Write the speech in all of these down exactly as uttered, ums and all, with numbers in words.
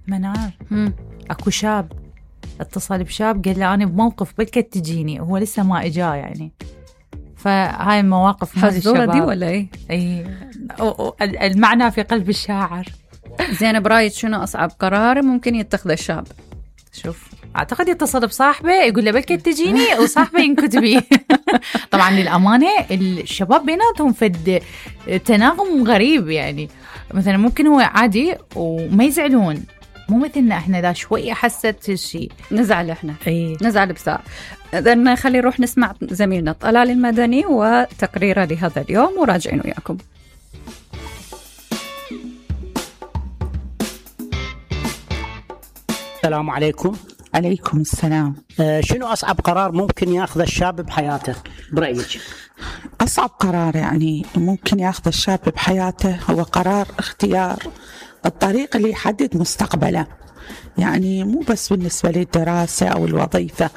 منار مم. اكو شاب اتصل بشاب قال له انا بموقف بلكت تجيني، هو لسه ما اجا يعني. فهاي المواقف مال حزورة الشباب دي ولا ايه؟ اي المعنى في قلب الشاعر. زين، برايك شنو اصعب قرار ممكن يتخذه الشاب؟ شوف، اعتقد يتصل بصاحبه يقول له بلكت تجيني وصاحبه ينكت بيه. طبعا للامانه الشباب بيناتهم فد تناغم غريب، يعني مثلا ممكن هو عادي وما يزعلون، مو مثلنا احنا ذا شوي حست الشيء نزعل احنا. اي نزعل بساعة. إذن خلي نروح نسمع زميلنا طلال المدني وتقريره لهذا اليوم وراجعين وياكم. السلام عليكم. عليكم السلام. آه شنو أصعب قرار ممكن يأخذ الشاب بحياته برأيك؟ أصعب قرار يعني ممكن يأخذ الشاب بحياته هو قرار اختيار الطريق اللي يحدد مستقبله، يعني مو بس بالنسبة للدراسة أو الوظيفة،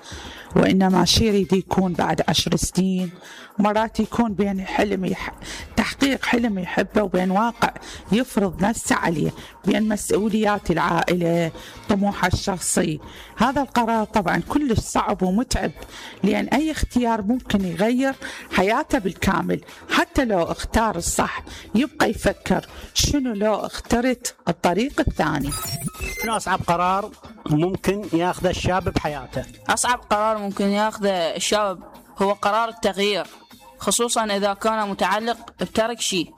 وإنما شيء يريد يكون بعد عشر سنين، مرات يكون بين حلم يح... تحقيق حلم يحبه وبين واقع يفرض نفسه عليه، بين مسؤوليات العائلة طموحه الشخصي. هذا القرار طبعا كلش صعب ومتعب، لأن أي اختيار ممكن يغير حياته بالكامل. حتى لو اختار الصح يبقى يفكر شنو لو اخترت الطريق الثاني. شنو أصعب قرار ممكن يأخذ الشاب بحياته؟ أصعب قرار ممكن يأخذ الشاب هو قرار التغيير، خصوصا إذا كان متعلق بترك شيء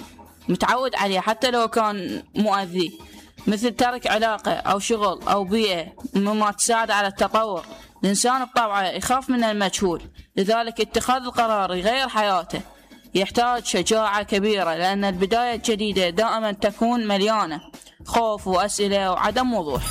متعود عليه حتى لو كان مؤذي، مثل ترك علاقة أو شغل أو بيئة مما تساعد على التطور. الإنسان بطبعه يخاف من المجهول، لذلك اتخاذ القرار يغير حياته يحتاج شجاعة كبيرة، لأن البداية الجديدة دائما تكون مليانة خوف وأسئلة وعدم وضوح.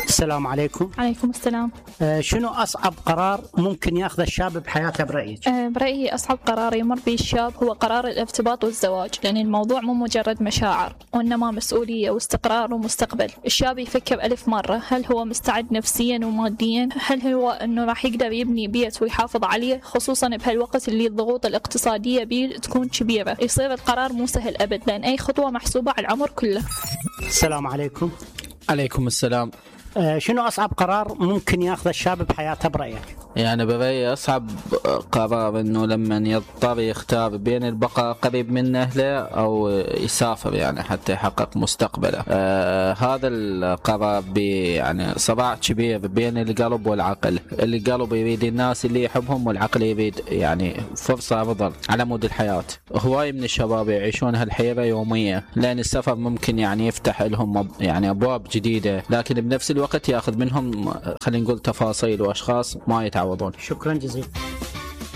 السلام عليكم. عليكم السلام. آه شنو أصعب قرار ممكن يأخذ الشاب بحياته برأيك؟ أه برأيي أصعب قرار يمر به الشاب هو قرار الارتباط والزواج، لأن الموضوع مو مجرد مشاعر وإنما مسؤولية واستقرار ومستقبل. الشاب يفكر ألف مرة، هل هو مستعد نفسيا وماديا؟ هل هو أنه راح يقدر يبني بيت ويحافظ عليه، خصوصا بهالوقت اللي الضغوط الاقتصادية بيه تكون كبيرة. يصير القرار مو سهل أبد، لأن أي خطوة محسوبة على العمر كله. السلام عليكم. عليكم السلام. آه شنو أصعب قرار ممكن يأخذ الشاب بحياته برأيك؟ يعني برأيي أصعب قرار إنه لما يضطر يختار بين البقاء قريب من أهله أو يسافر يعني حتى يحقق مستقبله. آه هذا القرار بي يعني صراع كبير بين القلب والعقل. القلب يريد الناس اللي يحبهم، والعقل يريد يعني فرصة أفضل على مود الحياة. هواي من الشباب يعيشون هالحيرة يومية، لأن السفر ممكن يعني يفتح لهم يعني أبواب جديدة، لكن بنفس الوقت يأخذ منهم خلينا نقول تفاصيل وأشخاص ما يتعوضون. شكرا جزيلا.